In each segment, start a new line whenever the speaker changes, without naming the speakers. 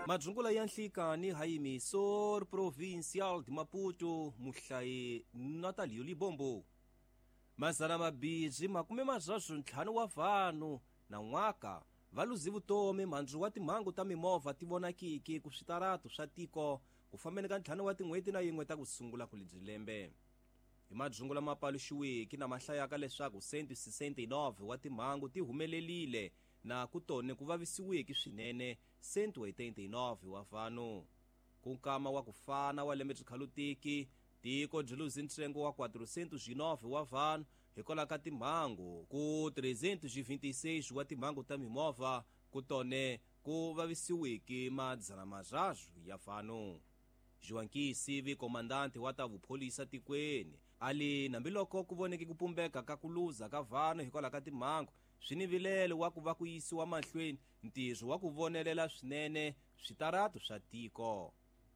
Madzungula ya nhlikani Emisor Provincial de Maputo, muhlayi Natalio Libombo. Mazana mabirhi makume marharu ntlhanu wa vanhu na n'waka va luzi vutomi mhandzu wa timhangu ta mimovha ti vonakiki ku switaratu swa tiko ku fambeni ka 5 wa tin'hweti na yin'we ta ku sungula ku lebyi lembe. Hi madzungu lama paluxiwiki na mahlayaka leswaku 169 wa timhangu ti humelelile na ku tone ku vavisiwiki swinene 189 wa vanhu. Ku nkama wa ku fana wa lembe byi tiko byi luze ntsengo wa 409 wa vanhu hikwalaho ka timhangu ku 326 wa timhangu ta mimovha ku tone ku vavisiwiki 300 ya vanhu. Joaquim Sivi, komandante wa ta vupholisa tikweni, ali nambiloko ku voneke ku pumbeka ka ku luza ka vanhu hikwalaho ka timhangu swi ni vilelo wa ku va ku yisiwa mahlweni ntirho wa ku vonelela swinene switaratu swa tiko.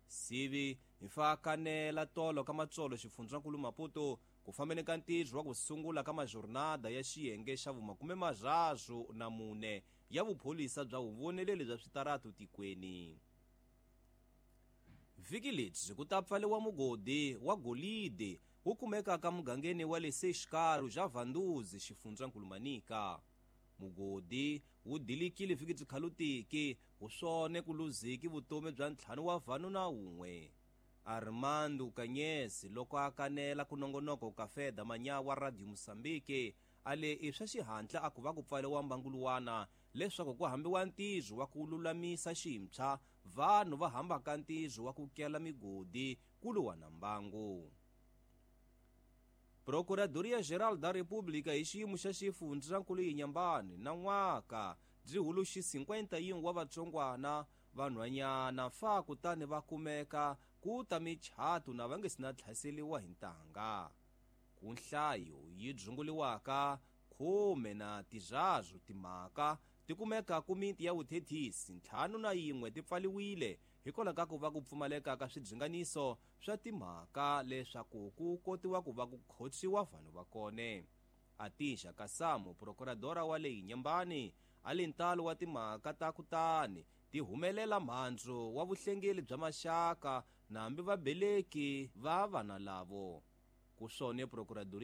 Sivi hi kanela tolo ka matsolo xifundzankulu Maputo ku fambeni ka ntirho wa ku sungula ka majornada ya xiyenge xa vu-34 ya vupholisa bya vuvoneleli bya switaratu tikweni. Vhiki lebyi ku ta pfaliwa mugodi wa golide wu kumekaka mugangeni wa le Seixikaro xa Vanduzi xifundzankulu Manica. Mugodi wu dilikile vhiki byi wu swone ku luziki vutomi bya 5 wa vanhu na 1. Armando Kanyesi loko a kanela ku nongonoko ka Feda Manyawa Radio Mozambique ale i swa xihatla a ku va ku pfaliwa mbanguluwana leswaku ku hambiwa ntirho wa ku lulamisa ximpsha vanhu va hambaka ntirho wa ku kela migodi ku luwa na mbangu. Procuradoria Geral da República hi xiyimo xa xifundzankulu Inhambane na n'waka byi huluxi 51 wa vatsongwana vanhwanyana fa kutani va kumeka ku ta michato na va nge si na tlhaseliwa hi ntanga. Ku nhlayo yi dzunguliwaka 13 timhaka ti kumeka ku miti ya vuthethisi 51 ti pfaliwile hikwalaho ka ku va ku pfumaleka ka swidzhinganiso swa timhaka leswaku ku kotiwa ku va ku khotsiwa vanhu va kone. Atisha Kasamu, procuradora wa le Inhambane, a li ntalo wa timhaka ta kutani ti humelela mhandzu wa vuhlengeli bya maxaka na hambi vabeleki va vana lavo. Ku swone procuradoria